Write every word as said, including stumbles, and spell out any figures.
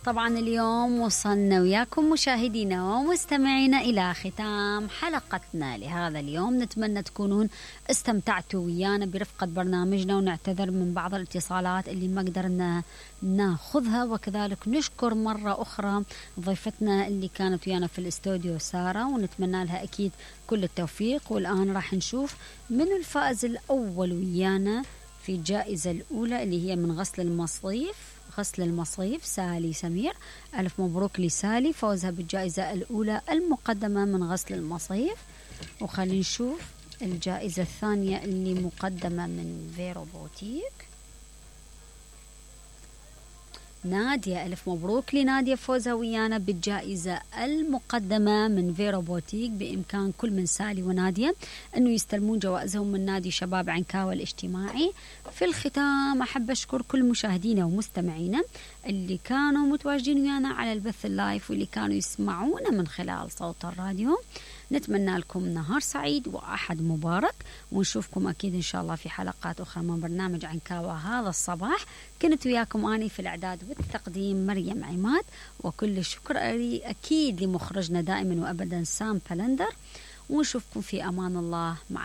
طبعا اليوم وصلنا وياكم مشاهدينا ومستمعينا إلى ختام حلقتنا لهذا اليوم. نتمنى تكونون استمتعتوا ويانا برفقة برنامجنا، ونعتذر من بعض الاتصالات اللي ما قدرنا ناخذها، وكذلك نشكر مرة أخرى ضيفتنا اللي كانت ويانا في الاستوديو سارة، ونتمنى لها أكيد كل التوفيق. والآن راح نشوف من الفائز الأول ويانا في الجائزة الأولى اللي هي من غسل المصيف غسل المصيف سالي سمير. ألف مبروك لسالي فوزها بالجائزة الأولى المقدمة من غسل المصيف. وخلينا نشوف الجائزة الثانية اللي مقدمة من فيرو بوتيك. نادية، ألف مبروك لنادية فوزها ويانا بالجائزة المقدمة من فيرو بوتيك. بإمكان كل من سالي ونادية أنه يستلمون جوائزهم من نادي شباب عنكاوة الاجتماعي. في الختام أحب أشكر كل مشاهدينا ومستمعينا اللي كانوا متواجدين ويانا على البث اللايف واللي كانوا يسمعونا من خلال صوت الراديو. نتمنى لكم نهار سعيد وأحد مبارك، ونشوفكم أكيد إن شاء الله في حلقات أخرى من برنامج عنكاوة هذا الصباح. كنت وياكم أني في الإعداد والتقديم مريم عماد، وكل الشكر أكيد لمخرجنا دائما وأبدا سام بلندر. ونشوفكم في أمان الله. مع